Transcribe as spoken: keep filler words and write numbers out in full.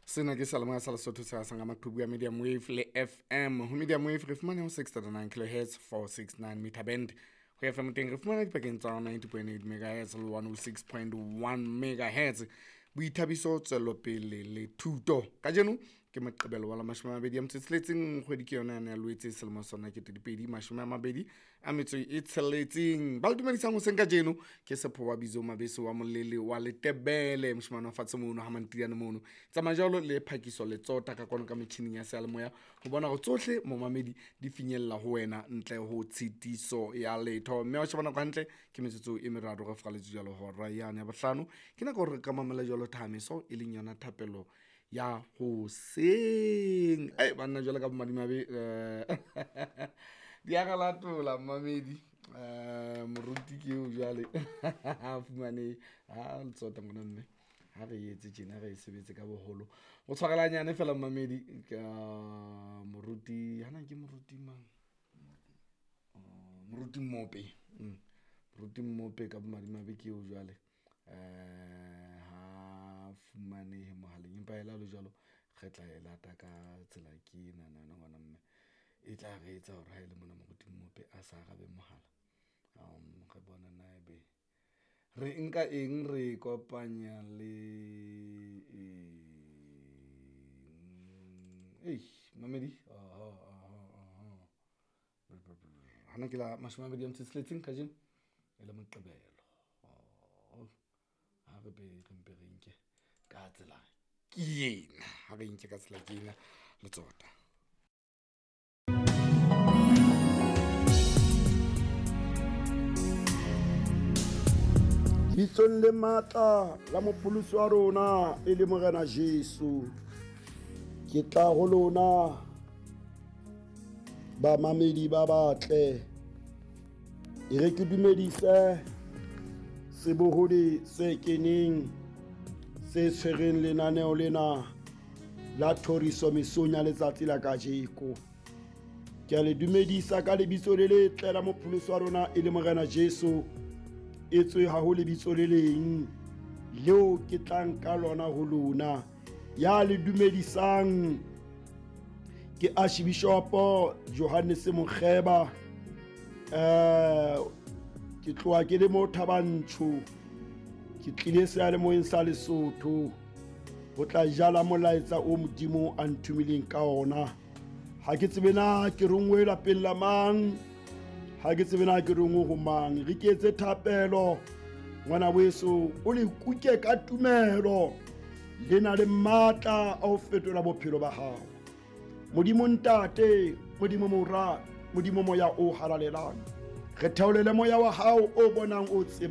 Sena ke seyalemoya sa Lesotho se hasang ka maqhubu ya medium wave le F M. Ho medium wave re fumane ho six nine kilohertz, four six nine meter band. Ho F M teng re fumana dipakeng tsa ninety point eight megahertz le one oh six point one megahertz. Boithabiso, tswelopele le thuto. Kajeno ke Moqebelo wa la mashome a mabedi a metso e tsheletseng, kgwedi ke yona ya Loetse selemo sona ke dipedi mashome a mabedi a metso e tsheletseng. Ba le dumedisang hoseng kajeno ke Sepho wa Bizo Mabeso wa Molele wa Letebele, moshemane wa fatshe mono ha Mantiane mono. Tsamaya jwalo le phakiso le tsota ka kwano ka metjhining ya seyalemoya ho bona hore tsohle momamedi di finyella ho wena ntle ho tshitiso ya letho. Mme wa sheba nako hantle ke metsotso e meraro re fraletse jwalo hora yane ya bohlano. Ke nako hore re ka mamela jwalo thameso e leng yona thapelo ya hoseng. Ei banna jwale ka bomadimabe eh di a re latola mmamedi. Eh moruti ke eo jwale ha fumane ha letsota ngwana mme ha re etse tjena re sebetse ka boholo. O tshwarela nyane fela mmamedi ka moruti hana ke moruti mang? Moruti Mmope. Moruti Mmope ka bomadimabe ke eo jwale. Eh ha fumanehe mohaleng empa ela le jwalo re tla e lata ka tsela ke ena na ngwana mme e tla re etsa hore ha ile mona moruti Mmope a sa arabe mohala. Um re bona na ebe re nka eng re kopanya le eng? Mamedi aha aha aha hana ke la mashome a mabedi a metso e tsheletseng kajeno e le Moqebelo. Ha re be re mpe re nke ka tsela ke ena, ha re nke ka tsela ke ena letsota. Bitsong le matla la mopholosi wa rona e le Morena Jesu, ke tla ho lona bamamedi ba batle. E re ke dumedise sebohodi se keneng se tshwereng lenaneo lena la thoriso mesong ya letsatsi la kajeko. Ke a le dumedisa ka lebitso le letle la mopholosi wa rona e le Morena Jesu. Etswe ha ho lebitso le leng leo ke tlang ka lona ho lona. Ya le dumedisang ke Archbishop Johannes Mokgeba. Eh ke tloha ke le mo Thabantsho, ke tlile seyalemoyeng sa Lesotho ho tla jala molaetsa o Modimo a nthomileng ka ona. Ha ke tsebe na ke rongwe lapeng la mang, ha ke tsebe na ke rongwe ho mang. Re ke etse thapelo ngwana weso, o le kuke ka tumelo, le na le matla a ho fetola bophelo ba hao. Modimo Ntate, Modimo Mora, Modimo Moya o halalelang, re theolele moya wa hao o bonang o tseba.